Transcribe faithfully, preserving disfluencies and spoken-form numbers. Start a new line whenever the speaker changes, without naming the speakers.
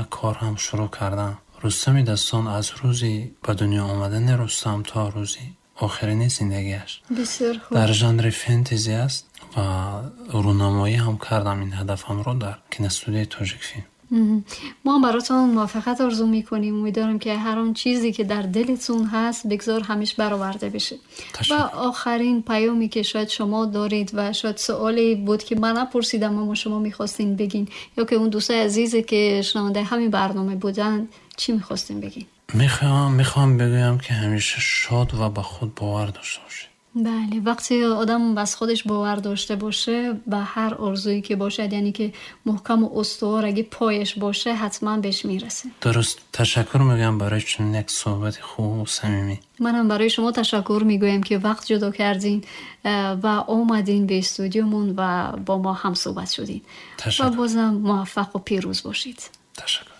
ва кор ҳам шурӯъ кардам. Рустами дастон аз рӯзи ба дунё омадани Рустам то рӯзи охирини зиндагиаш.
Бисёр хуб.
Дар жанри фэнтези аст ва рӯнамоӣ ҳам кардам ин ҳадафамро дар киностудияи Тоҷикфилм.
Мо ҳам баротон муваффақият орзу мекунем. Умедворам, ки ҳар он чизе ки дар дилатон ҳаст, бигзор ҳамеш бароварда бشه. Ва охирин паёме ки шояд шумо доред ва шояд суоле буд, ки ман напурсидам, аммо шумо мехостин бигин, ё ки он дӯстои азизе ки шунавандаи ҳамин барнома буданд, чӣ мехостин бигин?
Мехоҳам мехоҳам бигӯям, ки ҳамеша шод ва ба худ бовар дошта бошед.
Бале, вақте одам аз худаш бовар дошта боше, ба ҳар орзуе ки бошад, яъне ки муҳкаму устувор аги пояш боше, ҳатман беш мерасад.
Дуруст. Ташаккур мегӯям барои чунин як суҳбати хубу самимӣ.
Манам барои шумо ташаккур мегӯям, ки вақт ҷудо кардин э, ва омадин ба студиомон ва бо мо ҳамсуҳбат шудин. Ва
Ташаккур.
Бозам муваффақу пирӯз бошед.
Ташаккур.